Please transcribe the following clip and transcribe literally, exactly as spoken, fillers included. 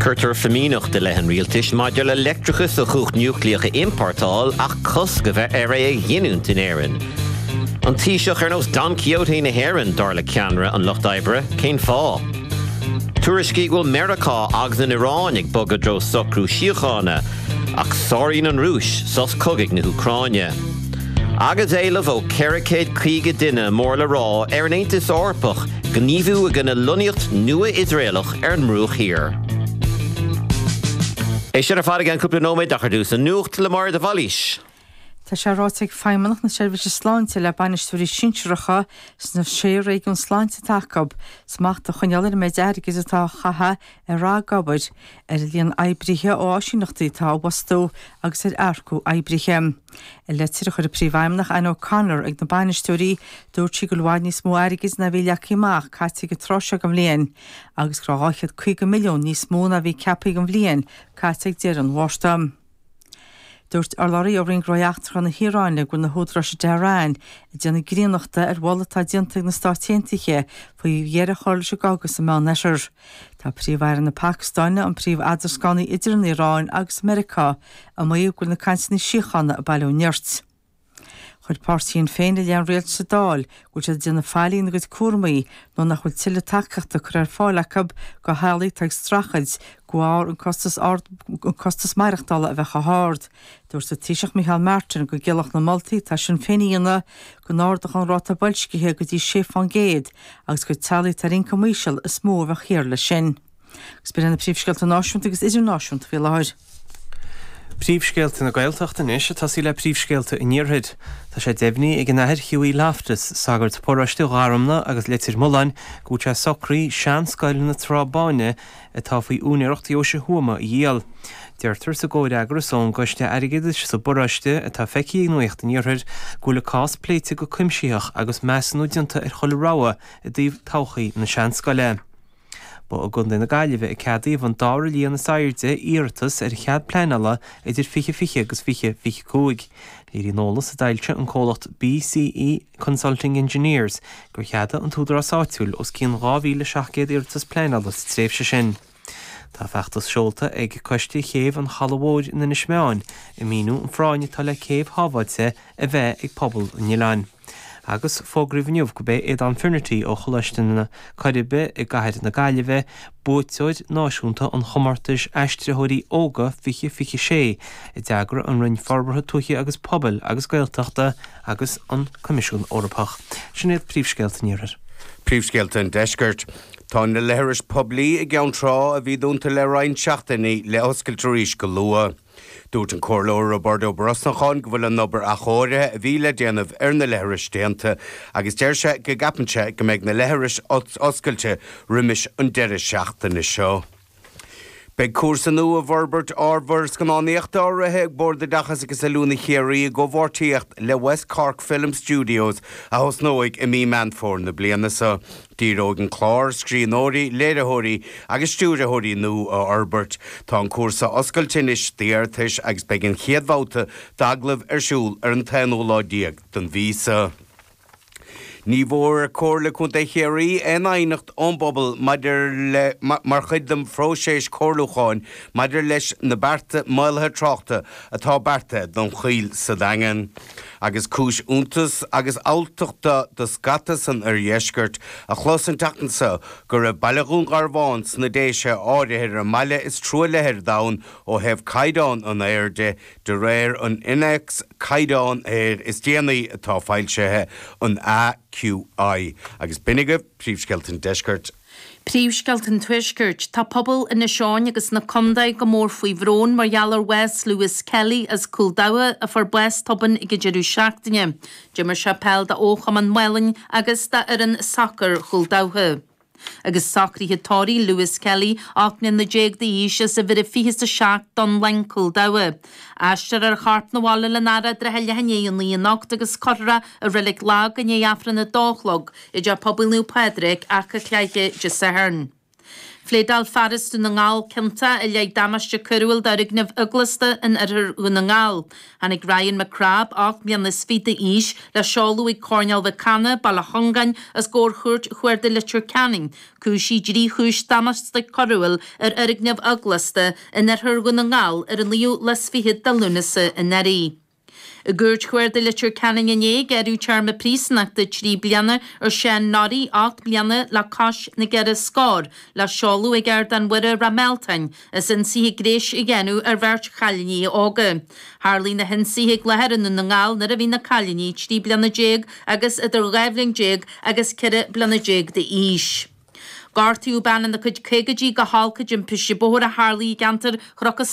Cuirtear fimíneacht i leith an rialtais maidir le leictreachas ó chumhacht núicléach a iompórtáil ach cosc a bheith ar é a ghiniúint in Éirinn. An Taoiseach ar nós Don Quixote na hÉireann dar le ceannaire an Lucht Oibre, cén fáth. Tuairiscí go bhfuil Meiriceá agus an Iaráin ag bogadh i dtreo socrú síochána, ach sáraíonn an Rúis sos cogaidh na hÚcráine. Agus éileamh ó ceithre chéad caoga duine mór le rá ar an Aontas Eorpach gníomhú i gcoinne lonnaíocht nua Iosraelach ar an mBruach Thiar. É sin ar fad i gceann cúpla nóiméad ach ar dtús an nuacht le Máire de Bhailís. Tá sé ráite ag Feidhmeannacht na Seirbhíse Sláinte le bainisteoirí sinsearacha sna sé réigiún sláinte atá acu, smacht a choinneáil ar an méid airgid atá á chaitheamh ar ragobair, ar an líon oibrithe ó áisíneachtaí atá á bhfostú agus ar earcú oibrithe. I litir a chuir an Príomhfheidhmeannach Anne O'Connor ag na bainisteoirí, dúirt sí go bhfuil i bhfad níos mó airgid ná bhí leagtha amach caite ag an tráth seo den bhliain agus go raibh dhá chéad caoga milliún níos mó ná bhí ceaptha don bhliain caite ag deireadh an Mhárta. Dúirt urlabhraí ó Roinn Gnóthaí Eachtracha na hIaráine go bhfuil na húdaráis i dTehran ag déanamh grínachta ar mholadh atá déanta ag na Stáit Aontaithe faoi dheireadh a chur leis an gcogadh sa Meánoirthear. Tá Príomh-Aire na Pacastáine, an príomh-eadrascánaí idir an Iaráin agus Meiriceá, ag maíomh go bhfuil na cainteanna síochána ag bailiú nirt. Chuir páirtí Shinn Féin i leith an rialtais sa Dáil go bhfuil siad ag déanamh faillí ina gcuid cúraimí nó nach bhfuil tuilleadh tacaíochta curtha ar fáil acu do theaghlaigh atá ag streachailt de bharr an costas ard an costas maireachtála a bheith chomh hard. Dúirt an Taoiseach Micheál Martin go gciallódh na moltaí atá Sinn Féin a dhéanamh go n-ardódh an ráta boilscithe go dtí sé fán gcéad agus gur teaghlaigh atá ar ioncam íseal is mó a bheadh thiar leis sin. Agus b'in na príomhscéalta náisiúnta agus idirnáisiúnta faoi láthair. Príomhscéalta na Gaeltachta anois ag tosaí le príomhscéalta an Iarthair. Tá sé deimhnithe ag an Athair Hughie Loftus, sagart paróiste Gharumna agus Leitir Mealláin, go bhfuil sé socraithe seanscoil na Trá Báine atá faoi úinéireacht Dheoise Thuama a dhíol. Deirtear sa gcomhfhreagras ón gCoiste Airgeadais sa bparóiste atá feicthe ag Nuacht an Iarthair go bhfuil an cás pléite go cuimsitheach agus measúnú déanta ar chuile rogha i dtaobh todhchaí na seanscoile. Ba i gContae na Gaillimhe a ceadaíodh an dara líon is airde iarratas ar chead pleanála idir fiche fiche agus fiche fiche cúig. Léiríonn eolas a d'fhoilsigh an comhlacht BCE Consulting Engineers gur cheadaigh an t-údarás áitiúil os cionn dhá mhíle seacht gcéad iarratas pleanála sa tréimhse sin. Tá feachtas seolta ag Coiste Chéibh an Chalaidh Mhóir in Inis Meáin ag míniú an phráinn atá le céibh shábháilte a bheith ag pobal an oileáin. Agus fógraíodh inniu gurb é Aodán Finnerty ó Choláiste na Coiribe i gCathair na Gaillimhe buaiteoir náisiúnta an chomórtais Aistritheoirí Óga fiche fiche sé a d'eagraigh an Roinn Forbartha Tuaithe agus Pobail agus Gaeltachta agus an Coimisiún Eorpach. Sin iad príomhscéalta an Iarthair. Príomhscéalta an Deiscirt. Tá na leithris poiblí i gCeann Trá a bhí dúnta le roinnt seachtainí le hoscailt arís go luath. Dúirt an Comhairleoir Roibeárd Ó Brosnacháin go bhfuil an obair athchóirithe a bhí le déanamh ar na leithris déanta agus deir sé go gceapann sé go mbeidh na leithris oscailte roimis an deireadh seachtaine seo. Beidh cúrsa nua i bhforbairt ábhar scannánaíochta á rith ag Bord Oideachais agus Oiliúna Chiarraí i gcomhpháirtíocht le West Cork Film Studios a thosnóidh i mí Meán Fómhair na bliana seo. Díreoidh an clár ar scríbhneoirí, léiritheoirí agus stiúrthóirí nua a fhorbairt. Tá an cúrsa oscailte anois d'iarratais agus beidh an chéad bhabhta d'agallaimh ar siúl ar an t-aonú lá déag den mhí seo. Ní bhfuair Comhairle Contae Chiarraí aon aighneacht ón bpobal maidir le mar chuid den phróiseas comhairliúcháin maidir leis na bearta maolaithe tráchta atá beartaithe don Choill sa Daingean. Agus cúis iontais agus alltachta do scata san oirdheisceart a chlos an tseachtain seo go raibh baile Dhún Garbhán sna Déise áirithe ar an mbaile is truaillithe ar domhan ó thaobh caighdeán an aeir de, De réir an Innéacs Caighdeán Aeir is déanaí atá foilsithe, an AQI. Agus b'in agaibh príomhscéalta an deiscirt. Príomhscéalta an Tuaiscirt. Tá pobal Inis Eoghain agus na contae go mór faoi bhrón mar gheall ar bhás Lewis Kelly as Cúil Dabha a fuair bás tobann ag an deireadh seachtaine. D'imir sé peil d'Fhochumann Mhálainn agus d'fhoireann sacair Chúil Dabha. Agus socruithe tórraimh Lewis Kelly, ocht mbliana déag d'aois, as uimhir a fiche is a seacht, Dúnlaing, Cúl Dabha. Aistreofar a chorp 'na bhaile lena fhaire i dtrátha leath i ndiaidh a naoi anocht agus cuirfear é i Reilig Lag i ndiaidh Aifreann a dó a chlog i dTeach Pobail Naomh Pádraig, Achadh Cléithe, Dé Sathairn. Phléadáil fear as Dún na nGall ciontach i leith damáiste coiriúil d'fhoirgneamh eaglasta in oirthear Dhún na nGall. Tháinig Ryan McCrabb, ocht mbliana is fiche d'aois, le seoladh ag Coirnéal Mhic Cana, Baile Chongáin, os comhair Chúirt Chuarda Leitir Ceanainn, cúisithe i dtrí chúis damáiste coiriúil ar fhoirgneamh eaglasta in oirthear Dhún na nGall ar an naoú lá is fiche de Lúnasa anuraidh. I gCúirt Chuarda Leitir Ceanainn inné, gearradh téarma príosúnachta trí bliana ar Seán Norrie, ocht mbliana le cois na gceithre scór, le seoladh ag Ardán Mhuire Ráth Mealtain, as ionsaithe gnéis a dhéanamh ar bheirt chailíní óga. Tharlaigh na hionsaithe i gClochar i nDún na nGall nuair a bhí na cailíní trí bliana déag agus idir dhá bhliain déag agus ceithre bliana déag d'aois. Gortaíodh bean ina cuid caogaidí go holc i dtimpiste bóthair a tharlaigh i gceantar Chnoc